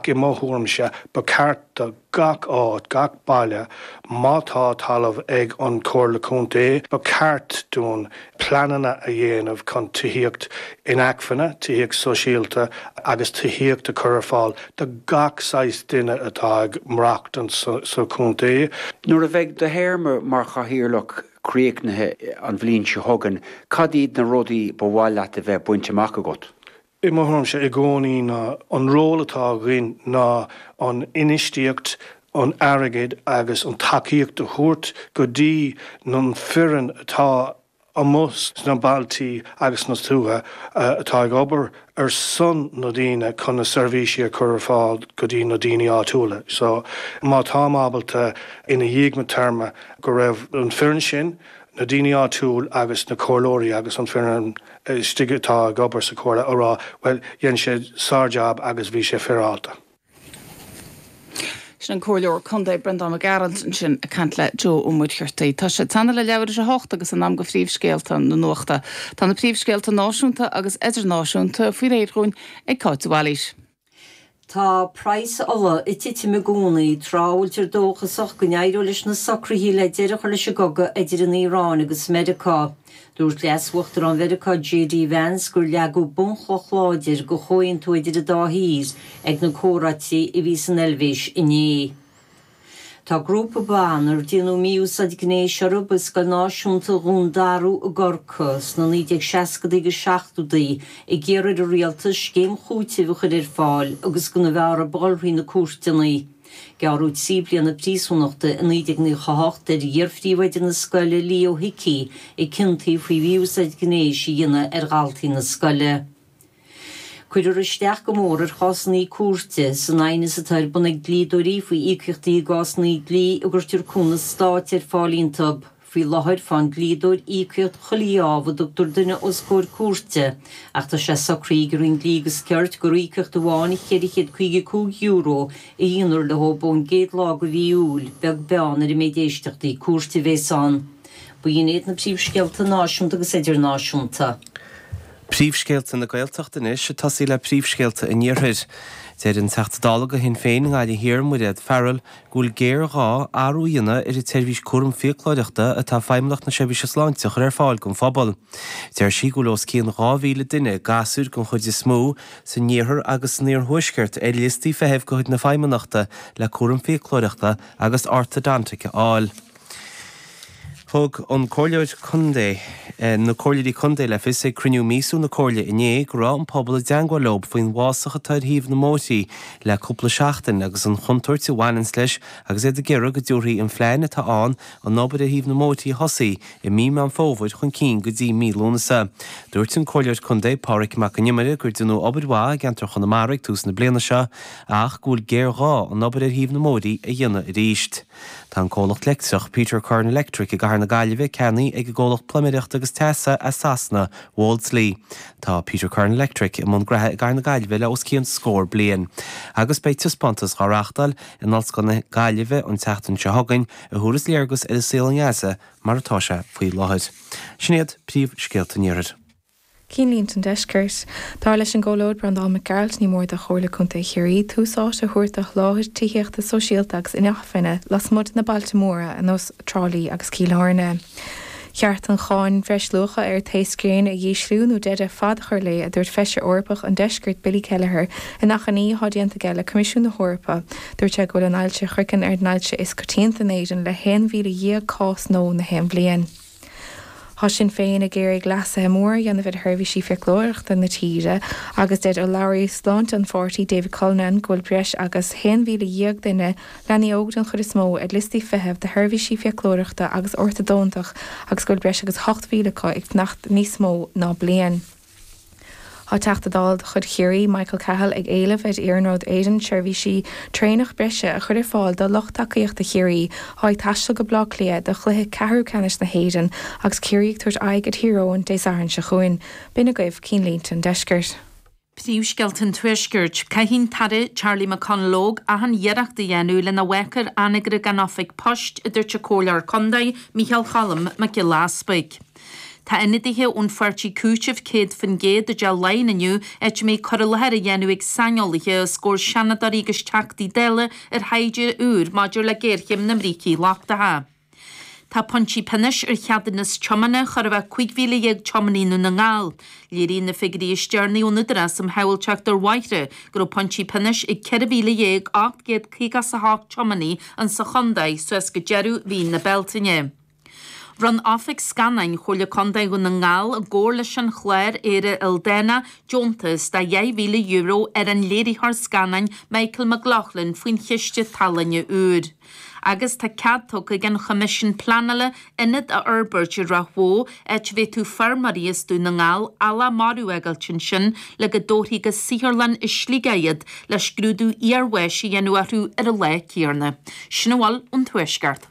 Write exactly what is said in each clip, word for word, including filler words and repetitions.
Ach i mo thuairimse, ba cheart do gach áit, gach baile, má tá talamh ag an Chomhairle Contae, ba cheart dúinn pleananna a dhéanamh chun tithíocht inacmhainne, tithíocht sóisialta agus tithíocht a chur ar fáil do gach saghas duine atá ag maireachtaint sa chontae. Nuair a bheidh do théarma mar chathaoirleach críochnaithe an bhliain seo chugainn, cad iad na rudaí ba mhaith leat a bheith bainte amach agat? I mo thuairimse i gcónaí ná an ról atá againn ná an infheistíocht, an airgead agus an tacaíocht a thabhairt go dtí an foireann atá amuigh sna bailtí agus sna tuaithe atá ag obair ar son na daoine chun na seirbhísí a chur ar fáil go dtí na daoine áitiúla. So má táim ábalta ina dhiaidh mo téarma go raibh an foireann sin, na daoine áitiúil agus na comhairleoirí agus an foireann istigh atá ag obair sa chomhairle a rá bhuel dhein sé sár-jab agus bhí sé féaráilte. Sin an Comhairleoir Contae Breandán Mac Gearailt ansin ag caint le Joe Ó Muircheartaigh. Tá sé tanaí le leathuair tar éis a hocht agus in am do phríomhscéalta na nuachta. Tá na príomhscéalta náisiúnta agus idirnáisiúnta faoi réir dhúinn ag Cáit de Bhailís. Tá praghas ola ag titim i gcónaí, tráth a bhfuiltear dóchasach go n-éireoidh leis na socruithe le deireadh a chur leis an gcogadh idir an Iaráin agus Meiriceá. Dúirt Leas-Uachtarán Mheiriceá J D Vance gur leagadh bunchloch láidir do chomhaontú idir an dá thír ag na comhráití a bhí san Eilvéis inné. Tá grúpa ban ar déanadh mí-úsáid gnéis orthu i Scoil Náisiúnta Dhún Darú i gCorcaigh sna naoi déag seascadaí agus seachtódaí ag iarraidh ar an rialtas scéim chúitimh a chur ar fáil agus go mb'fhearr a dhul thrí na cúirteanna. Gearradh trí bliana príosúnachta i naoi déag nócha a hocht ar iar-phríomhoide na scoile Leo Hickey a ciontaíodh faoi mhí-úsáid gnéis a dhéanamh ar dhaltaí na scoile. Cuirfear isteach go mór ar chásanna cúirte san aighneas atá ar bun ag dlíodóirí faoi íocaíochtaí i gcásanna dlí a gcuirtear cúnamh stáit ar fáil iontu. Faoi láthair faigheann dlíodóir íocaíocht chuile gheábh a dtugtar duine os comhair cúirte, ach tá sé socraithe ag an Roinn Dlí agus Cirt gur íocaíocht amháin cheithre chéad caoga cúig euro a dhéanfar leo ón gcéad lá de mhí Iúil, beag beann ar an méid éisteachtaí cúirte a bheas ann. B'in iad na príomhscéalta náisiúnta agus idirnáisiúnta. Príomhscéalta na Gaeltachta anois ag tosaí le príomhscéalta an Iarthair. Deir an Teachta Dála do Shinn Féin i nGaillimh Thiar, Mairéad Farrell, go bhfuil géarghá athrú a dhéanamh ar an tseirbhís cúram fiaclóireachta atá Feidhmeannacht na Seirbhíse Sláinte a chur ar fáil don phobal. Deir sí go bhfuil os cionn dhá mhíle duine, gasúir den chuid is mó, san iarthar agus san iarthuaisceart ar liostaí feithimh de chuid na Feidhmeannachta le cúram fiaclóireachta agus ortodontic a fháil. Thug an Comhairleoir Contae, na Comhairleoirí Contae le fios ag cruinniú míosúil na Comhairle inné go raibh an pobal i dteangmháil leo faoin bhfásach atá ar thaobh na mbóithrí le cúpla seachtain agus an chontúirt a bhaineanns leis agus iad ag iarraidh go dtabharfaí an phlean atá ann an obair ar thaobh na mbóithrí a thosaigh i mí Meán Fómhair chun cinn go dtí mí Lúnasa. Dúirt an Comhairleoir Contae Pádraig Mac an Iomaire gur déanadh obair mhaith i gceantar Chonamara ag tús na bliana seo ach go bhfuil géarghá an obair ar thaobh na mbóithrí a dhéanamh arís. Tá an comhlacht leictreach Peter Curran Electric i gCathair na Gaillimhe ceannaithe ag an gcomhlacht pluiméireachta agus teasa as Sasana, Wolseley. Tá Peter Curran Electric i mbun graithe i gCathair na Gaillimhe le os cionn scór bliain. Agus beidh taispeántas á reáchtáil in Ollscoil na Gaillimhe an tseachtain seo chugainn a thabharfas léargas ar an saol i nGaza mar atá sé faoi láthair. Sin iad príomhscéalta an Iarthair. Cinnlínte an Deiscirt. Dar leis an gComhairleoir Breandán Mac Gearailt ní mór do Chomhairle Contae Chiarraí tús áite a thabhairt do sholáthar tithíochta sóisialta agus inacmhainne lasmuigh de na bailte móra ar nós Trá Lí agus Cill Airne. Cheart an cháin bhreisluacha ar taos gréine a dhísliú nó deireadh fada a chur léi, a dúirt Feisire Eorpach an Deiscirt Billy Kelleher in achainí atá déanta aige le Coimisiún na hEorpa. Dúirt sé go bhfuil an ailse chraicinn ar an ailse is coitianta in Éirinn le haon mhíle dhéag cás nua na haon bhliain. Tá Sinn Féin ag iarraidh leasuithe móra a dhéanamh ar sheirbhísí fiaclóireachta na tíre agus deir urlabhraí sláinte an pháirtí David Cullinane go bhfuil breis agus haon mhíle dhéag duine, leanaí óg den chuid is mó, ar liostaí feithimh do sheirbhísí fiaclóireachta agus ortadontach agus go bhfuil breis agus ocht mhíle acu ag fanacht níos mó ná bliain. Tá Teachta Dála de chuid Chiarraí, Michael Cahill, ag éileamh ar Iarnród Éireann seirbhísí traenach breise a chur ar fáil do lucht tacaíochta Chiarraí atá ag taisteal go Baile Átha Cliath do chluiche ceathrú ceannais na hÉireann agus Ciarraí ag tabhairt aghaidh ar Thír Eoghain Dé Sathairn seo chugainn. B'in agaibh cinnlínte an deiscirt. Príomhscéalta an Tuaiscirt. Caithfidh an tAire Charlie McConalogue achan iarracht a dhéanamh lena bhac ar anagaire gan oifig poist, a dúirt an Comhairleoir Contae Micheál Cholm Mac Giolla Easpaig. Tá ionadaithe ón pháirtí Cúiteamh céad faoin gcéad i dTeach Laighean inniu, áit a mbeidh cur i láthair á dhéanamh ag saineolaithe os comhair seanadóirí agus teachtaí Dála ar thaighde úr maidir le géarchéim na mbrící lochtacha. Tá pointí pionóis ar cheadúnas tiomána chóir a bheith cúig mhíle dhéag tiománaí i nDún na nGall. Léiríonn na figiúirí is deireanaí ón Údarás um Shábháilteacht ar Bhóithre go raibh pointí pionóis ag ceithre mhíle dhéag ocht gcéad caoga is a hocht tiománaí insa chontae suas go deireadh mhí na Bealtaine. Bhronn Oifig Scannáin Chomhairle Contae Dhún na nGall i gcomhar leis an chlár Éire Ildánach deontas de dheich mhíle euro ar an léiritheoir scannáin Michael McLaughlin faoin Chiste Tallainne úr. Agus tá cead tugtha ag an Choimisiún Pleanála ionad a fhorbairt i Ráth Bhoth áit a bhféadfadh feirmeoirí as Dún na nGall eallach marbh a fhágáilt ansin le go dtabharfaí go saotharlann i Sligeach iad le scrúdú iarbháis a dhéanamh orthu ar an lá céanna. Sin a bhfuil ón Tuaisceart.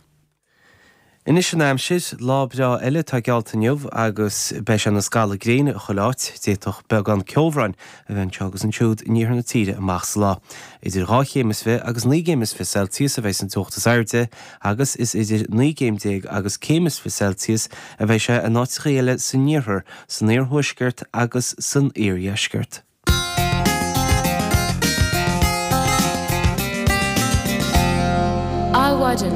Anois an aimsir, lá breá eile atá geallta inniu agus beidh sé ina scalladh gréine chuile áit. D'fhéadfadh beagán ceobhráin a bheith anseo agus ansiúd in iarthar na tíre amach sa lá. Idir dhá chéim is fiche agus naoi gcéim is fiche Celsius a bheidh an teocht is airde agus is idir naoi gcéim déag agus céim is fiche Celsius a bheidh sé in áiteacha eile san iarthar, san iarthuaisceart agus san iardheisceart. Adhmhaidin.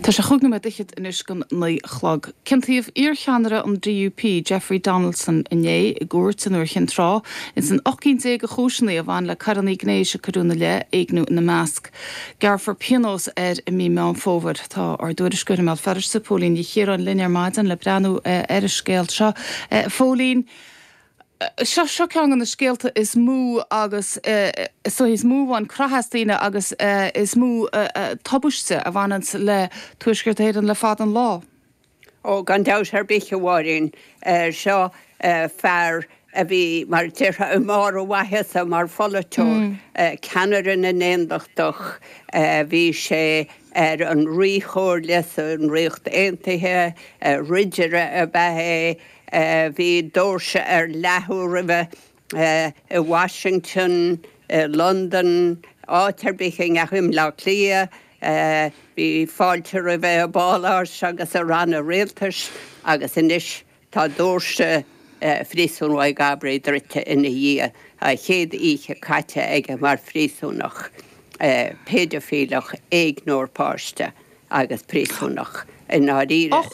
Tá sé chúig nóiméad fhichead anois don naoi a chlog. Ciontaíodh iarcheannaire an DUP, Jeffrey Donaldson, inné i gcúirt an Iúir Chinn Trá ins an ocht gcinn déag de chúiseanna a bhain le coireanna gnéis a cuireadh ina leith, éigniú ina measc. Gearrfar pionós air i mí Meán Fómhair. Tá ár dtuairisceoir i mBéal Feirste, Póilín Ní Chiaráin, linn ar maidin le breathnú ar an scéal seo. Phóilín, Seo seo ceann de na scéalta is mó agus is dóichí is mó a bhain creathadh as daoine agus is mó tubaiste a bhaineanns le Tuaisceart Éireann le fada an lá. Ó, gan dabht ar bith, a Mháirín. Seo fear a bhí, mar a déarfá, i mbarr a mhaitheasa mar pholaiteoir, ceannaire na nAontachtach, bhí sé ar an Ríchomhairle san Ríocht Aontaithe, ridire ab ea é, Bhí doirse ar leathadh roimhe i Washington, i Londain, áit ar bith a ndeachaigh, i mBleá Cliath. Bhí fáilte roimhe i bpáláis agus i ranna rialtais agus anois tá doirse Phríosún Mhaigh gCabraí druidte ina dhiaidh. A chéad oíche caite aige mar phríosúnach, péidifileach, éigneoir páiste agus príosúnach i ndáiríre.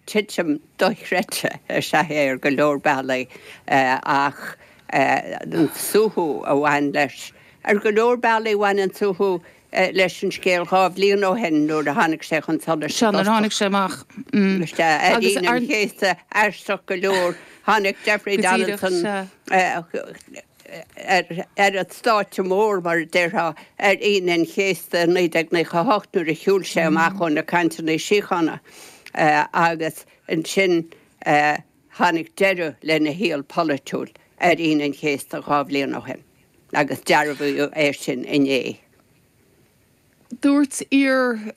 Titim dochreidte is ea é ar go leor bealaí ach an suaitheadh a bhain leis. Ar go leor bealaí bhain an suaitheadh leis an scéal dhá bhliain ó shin nuair a tháinig sé chun solais Sea, nuair a tháinig sé amach. Sea, ar Aoine an Chéasta, aisteach go leor, tháinig Jeffrey Donaldson ar an stáitse mór, mar a déarfá, ar Aoine an Chéasta i naoi déag nócha a hocht nuair a shiúil sé amach ó na cainteanna síochána agus ansin tháinig deireadh lena shaol polaitiúil ar Aoine an Chéasta dhá bhliain ó shin agus dearbhaíodh é sin inné. Dúirt iar-fhostóir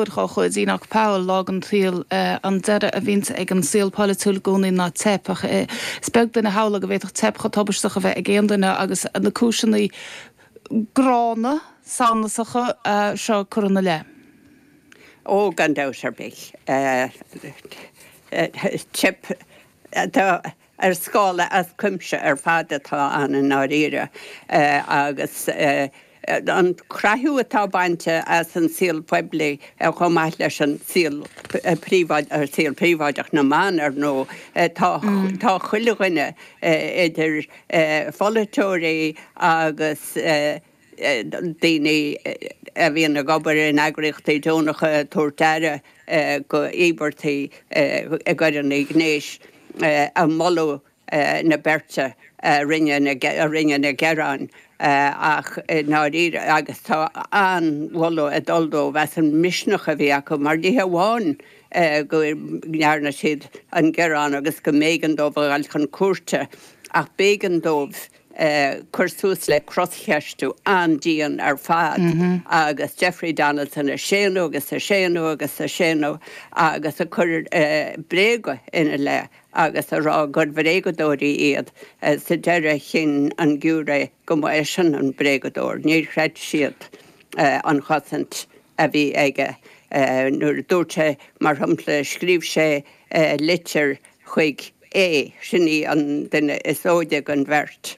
dá chuid, Enoch Powell, lá den tsaol, an deireadh a bhíonns ag an saol polaitiúil i gcónaí ná teip, ach is beag duine a shamhlódh go bhféadfadh teip chomh tubaisteach a bheith ag aon duine agus na cúiseanna gránna, samhnasacha seo curtha ina leith. Ó, gan dabht ar bith. Teip atá ar scála as cuimse ar fad atá ann i ndáiríre agus an creathadh atá bainte as an saol poiblí chomh maith leis an saol saol príobháideach na mban, ar ndóigh. Tá tá chuile dhuine idir pholaiteoirí agus daoine a bhíonn ag obair in eagraíochtaí deonacha ag tabhairt aire go íobartaigh i gcoireanna gnéis ag moladh na beirte a rinne a rinne na gearáin ach i ndáiríre agus tá an-mholadh ag dul dóibh as an misneach a bhí acu mar ní hamháin go ndearna siad an gearán agus go mb'éigean dóibh a dhul chun cúirte ach b'éigean dóibh cur suas le croscheistiú an-dian ar fad agus Jeffrey Donaldson ag séanadh agus ag séanadh agus ag séanadh agus ag cur bréaga ina leith agus ag rá gur bhréagadóirí iad. Sa deireadh chinn an giúiré go mba eisean an bréagadóir. Níor chreid siad an chosaint a bhí aige. Nuair a dúirt sé, mar shampla, scríobh sé litir chuig A, sin í an duine is óige den bheirt.